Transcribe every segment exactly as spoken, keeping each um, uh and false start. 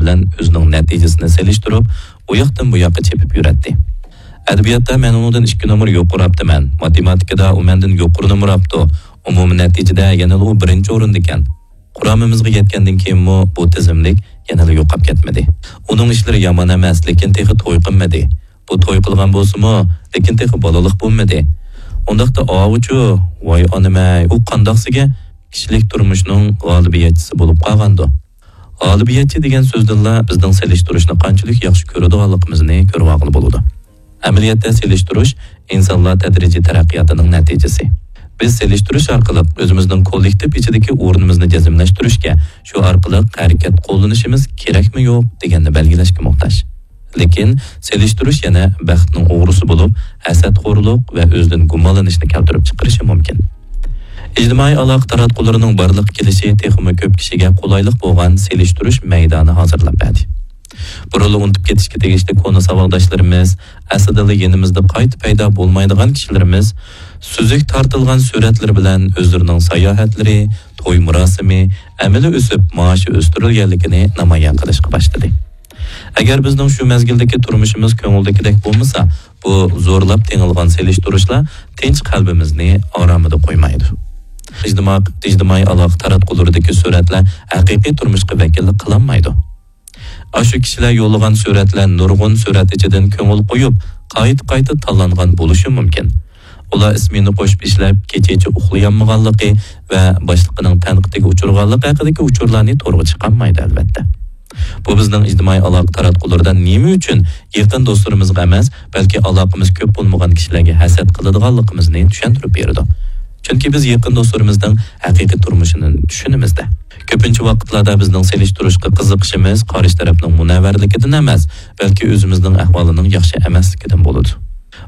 بىلەن ئۆزىنىڭ نەتىجىسىنى سېلىشتۇرۇپ، ئۇ ياقتىن بۇ ياققا چېپىپ يۈرەتتى. ئەدەبىياتتا مەن ئۇنىڭدىن ئىككى نومۇر يۇقىرى ئاپتىمەن، ماتېماتىكىدا ئۇ مەندىن يۇقىرى نومۇر ئاپتۇ، ئومۇمىي نەتىجىدە يەنىلا ئۇ بىرىنچى ئورۇندىكەن. قۇرامىمىزغا يەتكەندىن كېيىنمۇ بۇ تىزىملىك يەنىلا يوقاپ كەتمىدى. ئۇنىڭ ئىشلىرى يامان ئەمەس، لېكىن تېخى توي قىلمىدى. بۇ توي قىلغان بولسىمۇ، لېكىن تېخى بالىلىق بولمىدى. ئۇنداقتا ئاۋۇچۇ، ۋاي ئانىمەي، ئۇ قانداقسىگە كىشىلىك تۇرمۇشنىڭ غالىبىيەتچىسى بولۇپ قالغاندۇ؟ غالىبىيەتچى دېگەن سۆزدىنلا بىزنىڭ سېلىشتۇرۇشنى قانچىلىك ياخشى كۆرىدىغانلىقىمىزنى كۆرۈۋالغىلى بولىدۇ. ئەمەلىيەتتە سېلىشتۇرۇش ئىنسانلار تەدرىجىي تەرەققىياتىنىڭ نەتىجىسى. بىز سېلىشتۇرۇش ئارقىلىق ئۆزىمىزنىڭ كوللېكتىپ ئىچىدىكى ئورنىمىزنى جەزملەشتۈرۈشكە، شۇ ئارقىلىق ھەرىكەت قوللىنىشىمىز كېرەكمۇ يوق دېگەننى بەلگىلەشكە موھتاج. لېكىن سېلىشتۇرۇش يەنە بەختنىڭ ئوغرىسى بولۇپ، ھەسەتخورلۇق ۋە ئۆزىدىن گۇمانلىنىشنى كەلتۈرۈپ چىقىرىشى مۇمكىن. ئىجتىمائىي ئالاقە تاراتقۇلىرىنىڭ بارلىققا كېلىشى تېخىمۇ كۆپ كىشىگە قولايلىق بولغان سېلىشتۇرۇش مەيدانى ھازىرلاپ بەردى. بۇرۇنلا ئۇنتۇپ كېتىشكە تېگىشلىك كونا ساۋاقداشلىرىمىز، ئەسلىدىلا يېنىمىزدا قايتا پەيدا بولمايدىغان كىشىلىرىمىز سۈزۈك تارتىلغان سۈرەتلىرى بىلەن ئۆزلىرىنىڭ ساياھەتلىرى، توي مۇراسىمى، ئەمەلىي ئۆسۈپ مائاشى ئۆستۈرۈلگەنلىكىنى نامايان قىلىشقا باشلىدى. ئەگەر بىزنىڭ شۇ مەزگىلدىكى تۇرمۇشىمىز كۆڭۈلدىكىدەك بولمىسا، بۇ زورلاپ تېڭىلغان سېلىشتۇرۇشلار تىنچ قەلبىمىزنى ئارامىدا قويمايدۇ. ئىجتىمائىي، ئىجتىمائىي ئالاقە تاراتقۇلىرىدىكى سۈرەتلەر ھەقىقىي تۇرمۇشقا ۋەكىللىك قىلالمايدۇ. ئاشۇ كىشىلەر يوللىغان سۈرەتلەر نۇرغۇن سۈرەت ئىچىدىن كۆڭۈل قويۇپ، قايتا-قايتا تاللانغان بولۇشى مۇمكىن. ئۇلار ئىسمېنا قوشۇپ ئىشلەپ، كېچىچە ئۇخلىيالمىغانلىقى ۋە باشلىقىنىڭ تەنقىدىگە ئۇچرىغانلىقى ھەققىدىكى ئۇچۇرلارنى تورغا چىقارمايدۇ، ئەلۋەتتە. بۇ بىزنىڭ ئىجتىمائىي ئالاقە تاراتقۇلىرىدا نېمە ئۈچۈن يېقىن دوستلىرىمىزغا ئەمەس، بەلكى ئالاقىمىز كۆپ بولمىغان كىشىلەرگە ھەسەت قىلىدىغانلىقىمىزنى چۈشەندۈرۈپ بېرىدۇ. چۈنكى بىز يېقىن دوستلىرىمىزنىڭ ھەقىقىي تۇرمۇشىنى چۈشىنىمىز-دە. كۆپىنچە ۋاقىتلاردا بىزنىڭ سېلىشتۇرۇشقا قىزىقىشىمىز قارشى تەرەپنىڭ مۇنەۋۋەرلىكىدىن ئەمەس، بەلكى ئۆزىمىزنىڭ ئەھۋالىنىڭ ياخشى ئەمەسلىكىدىن بولىدۇ.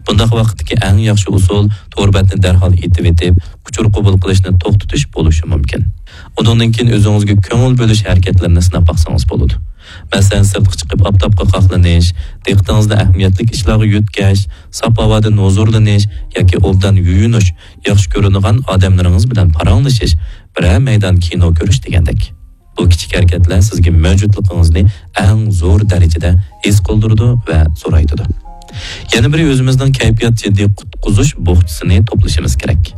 بۇنداق ۋاقىتتىكى ئەڭ ياخشى ئۇسۇل تور بەتنى دەرھال ئېتىۋېتىپ، ئۇچۇر قوبۇل قىلىشنى توختىتىش بولۇشى مۇمكىن. ئۇنىڭدىن كېيىن ئۆزىڭىزگە كۆڭۈل بۆلۈش ھەرىكەتلىرىنى سىناپ باقسىڭىز بولىدۇ. مەسىلەن، سىرتقا چىقىپ ئاپتاپقا قاقلىنىش، دىققىتىڭىزنى ئەھمىيەتلىك ئىشلارغا يۆتكەش، ساپ ھاۋادىن ھۇزۇرلىنىش ياكى ئوبدان يۇيۇنۇش، ياخشى كۆرىدىغان ئادەملىرىڭىز بىلەن پاراڭلىشىش، بىرەر مەيدان كىنو كۆرۈش دېگەندەك. بۇ كىچىك ھەرىكەتلەر سىزگە مەۋجۇتلۇقىڭىزنى ئەڭ زور دەرىجىدە ھېس قىلدۇرىدۇ ۋە زورايتىدۇ. يەنە بىرى، ئۆزىمىزنىڭ كەيپىيات جىددىي قۇتقۇزۇش بوخچىسىنى توپلىشىمىز كېرەك.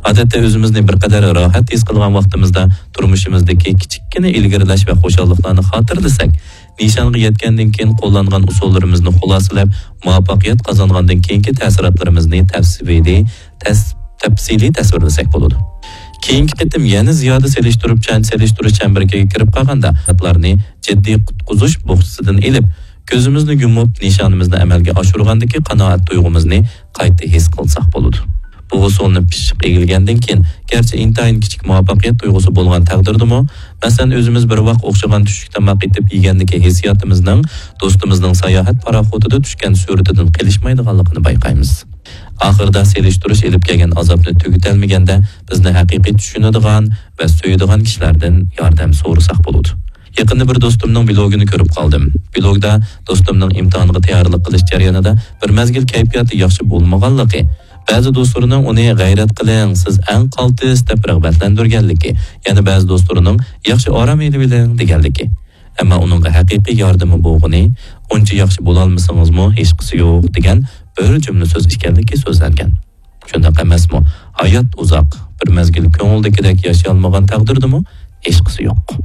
ئادەتتە ئۆزىمىزنى بىر قەدەر راھەت ھېس قىلغان ۋاقتىمىزدا تۇرمۇشىمىزدىكى كىچىككىنە ئىلگىرىلەش ۋە خۇشاللىقلارنى خاتىرىلىسەك، نىشانغا يەتكەندىن كېيىن قوللانغان ئۇسۇللىرىمىزنى خۇلاسىلەپ، مۇۋەپپەقىيەت قازانغاندىن كېيىنكى تەسىراتلىرىمىزنى تەپسىلىي، تەس-، تەپسىلىي تەسۋىرلىسەك بولىدۇ. كېيىنكى قېتىم يەنە زىيادە سېلىشتۇرۇپ چەن-، سېلىشتۇرۇش چەمبىرىكىگە كىرىپ قالغاندا، ئادەتلەرنى جىددىي قۇتقۇزۇش بوخچىسىدىن ئېلىپ، كۆزىمىزنى يۇمۇپ، نىشانىمىزنى ئەمەلگە ئاشۇرغاندىكى قانائەت تۇيغۇمىزنى قايتا ھېس قىلساق بولىدۇ. بۇ ئۇسۇلنى پىششىق ئىگىلىگەندىن كېيىن، گەرچە ئىنتايىن كىچىك مۇۋەپپەقىيەت تۇيغۇسى بولغان تەقدىردىمۇ، مەسىلەن، ئۆزىمىز بىر ۋاق ئوخشىغان چۈشلۈك تاماق ئېتىپ يېگەندىكى ھېسسىياتىمىزنىڭ دوستىمىزنىڭ ساياھەت پاراخوتىدا چۈشكەن سۈرىتىدىن قېلىشمايدىغانلىقىنى بايقايمىز. ئاخىرىدا سېلىشتۇرۇش ئېلىپ كەلگەن ئازابنى تۈگىتەلمىگەندە، بىزنى ھەقىقىي چۈشىنىدىغان ۋە سۆيىدىغان كىشىلەردىن ياردەم سورىساق بولىدۇ. يېقىندا بىر دوستۇمنىڭ بىلوگىنى كۆرۈپ قالدىم. بىلوگدا دوستۇمنىڭ ئىمتىھانغا تەييارلىق قىلىش جەريانىدا بىر مەزگىل كەيپىياتى ياخشى بولمىغانلىقى، بەزى دوستلىرىنىڭ ئۇنى «غەيرەت قىلىڭ، سىز ئەڭ قالتىس» دەپ رىغبەتلەندۈرگەنلىكى، يەنە بەزى دوستلىرىنىڭ «ياخشى ئارام ئېلىۋېلىڭ» دېگەنلىكى، ئەمما ئۇنىڭغا ھەقىقىي ياردىمى بولغىنى، «ئۇنچە ياخشى بولالمىسىڭىزمۇ ھېچقىسى يوق» دېگەن بىر جۈملە سۆز ئىكەنلىكى سۆزلەنگەن. شۇنداق ئەمەسمۇ؟ ھايات ئۇزاق، بىر مەزگىل كۆڭۈلدىكىدەك ياشىيالمىغان تەقدىردىمۇ ھېچقىسى يوق.